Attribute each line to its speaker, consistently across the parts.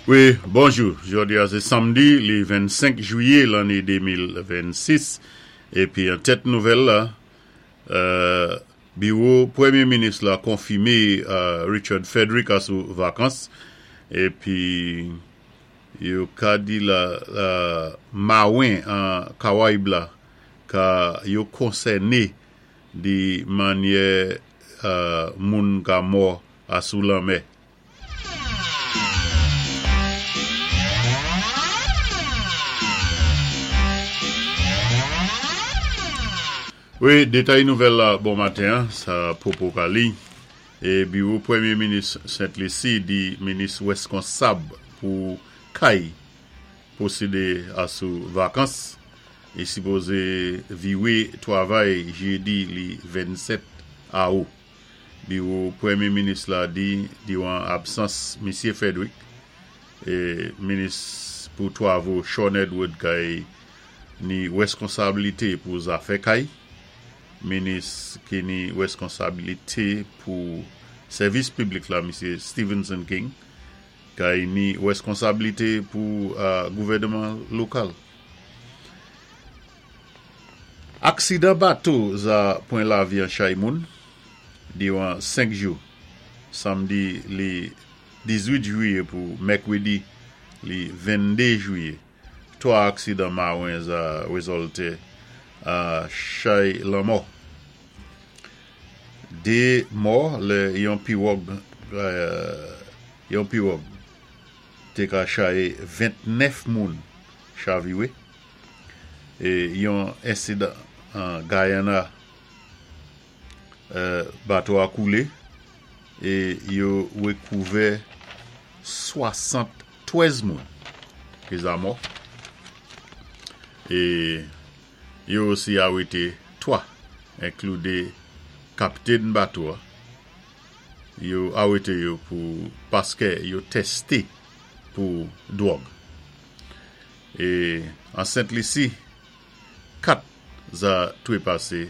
Speaker 1: Wi, bonjou. Jodi a sé samdi, li 25 jwiyé lanné 2026, épi an tèt nouvèl la, biwo Pwémyé Minis la konfimé Richard Frederick a sou vakans, épi yo ka di la mawen an Kawayib la ka yo konsèné di mannyè moun ka mò asou lanmè. Wi, detay nouvèl la bon maten an, sa popo ka li. E biwo Premye Minis Sent Lisi di minis reskonsab pou kay pwosede a sou vakans. Li sipoze viwe twavay jedi li 27 Aou. Biwo Premye Minis la di diran absans Misye Frederick, Minis pou Twavo Shawn Edward kay ni reskonsabilite pou zafè kay, Minis ki ni reskonsabilite pou Sèvis Piblik la Misye Stephenson King kay ni reskonsabilite pou gouvèneman lokal. Aksidan bato za pwen lavi an chay moun diran 5 jou, samdi li 18 jwiye pou mèkredi li 22 jwiye. 3 aksidan mawen za rezòlte a chay lanmò. 2 mò lè yon piwòg yon piwòg te ka chaye 29 moun chavire. Yon ensidan an Guyana, bato a koule e yo rekouvè 73 moun ki za mò e yo osi arete 3 enklude kaptenn bato a. Yo arete yo pou paske yo teste pou dwòg. E an Sent Lisi, 4 za trepase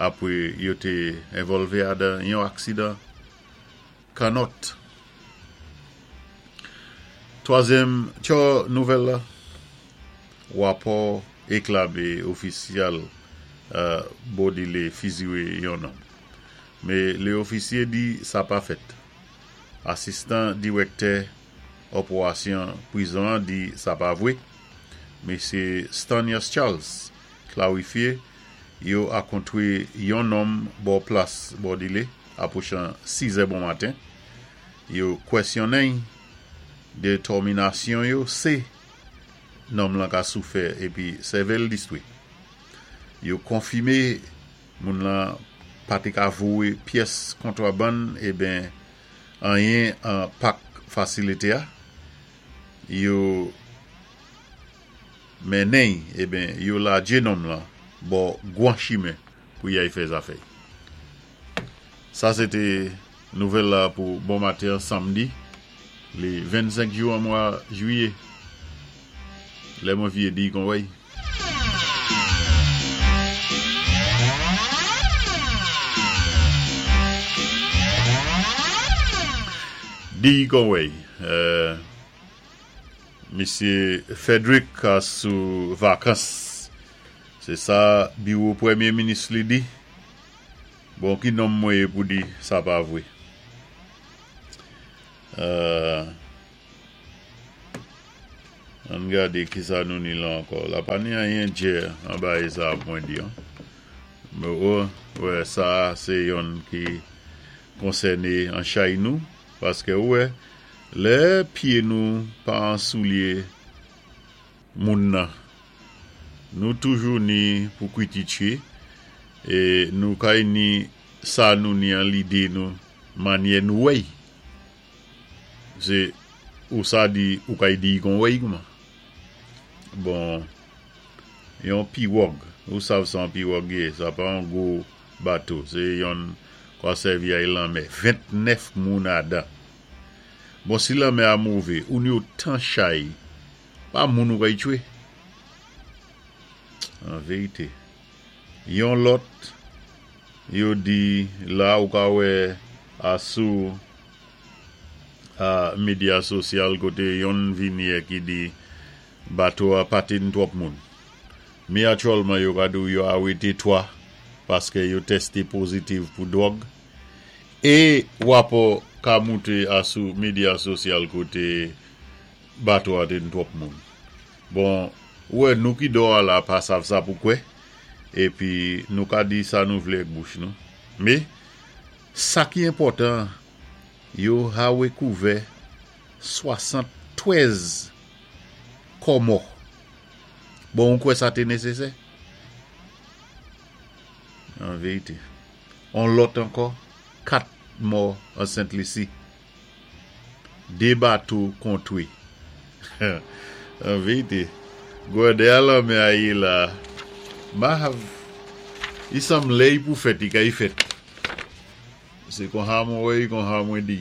Speaker 1: apre yo te envòlve adan yon aksidan kannòt. Twazyèm tchò nouvèl la, Rapò eklabe ofisyal Bodile fizire yon nonm. Me le ofisye di sa pa fèt. Asistan dirèktè Òporasyon prizon an di sa pa vwe. Mesye Stanias Charles klarifye yo akontre yon nonm bò plas Bòdile apwochan 6 zè bon maten. Yo kwèsyonnen y, detòminasyon yo se nonm lan ka soufè epi sèvèl distwi. Yo konfime moun lan pa te ka vowe pyès kontwabann eben Anyen an pak fasilite a. Yo mennen'y eben yo ladje nonm lan bò gwan chimen pou yay fè zafè'y. Sa se te nouvèl la pou bon maten an samdi le 25 jou an mwa jwiye. Lè mwen vye di kon wèy. Di kon wèy. Misye Frederick sou vakans. Se sa biwo premye minis li di. Bon ki nonm mwen ye pou di sa pa vwe. Ann gade kisa nou ni la ankò. La pa ni anyen djè anba e sa mwen di an. Mwen wè sa a se yonn ki konsène an chay nou. Paske ou wè, lè pye nou pa an soulye moun nan, nou toujou ni pou kwititye e nou kay ni sa nou ni an lide nou manyè nou wèy. Se ou sa di ou kay di kon wèy kouman. Bon yon piwòg ou sav sa yon piwòg ye sa pa yon gwo bato se yonn kwa sèvi ay lanmè 29 moun adan. Bon si lanmè a move ou ni otan chay pa moun ou kay tchwe. An verite yon lòt yo di la ou ka wè a sou. A medya sosyal koté yonn vini é ki di bato a pa té ni twòp moun. Mé aktyèlman yo ka di-w yo arété 3 paské yo tèsté pozitiv pou dwòg. É wapò ka mouté a sou medya sosyal koté bato a té ni twòp moun. Bon, ou wè nou ki dò a la pa sav sa pou kwè, épi nou ka di sa nou vlé ak bouch nou. Mé, sa ki enpòtan, yo hawe kouvè 73 kò mò. Bon, ou kwè sa té nésésè? An vérité. On lòt ankò, 4 mò an Sent Lisi. 2 bato kontwi. An vérité, gwòdè a lanmè a yé la, ma hav, i sanblé i pou fèt, i kay fèt. Sé konsa mwen wè i, konsa mwen di.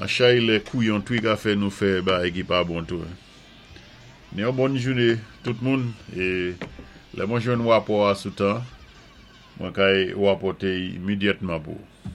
Speaker 1: An chay lè kouyon tou i ka fè nou fè bagay ki pa bon tou. Ni yon bòn jouné tout moun é lè mwen jwenn wapò a sou tan, mwen kay wapòté i imidyètman pou ou.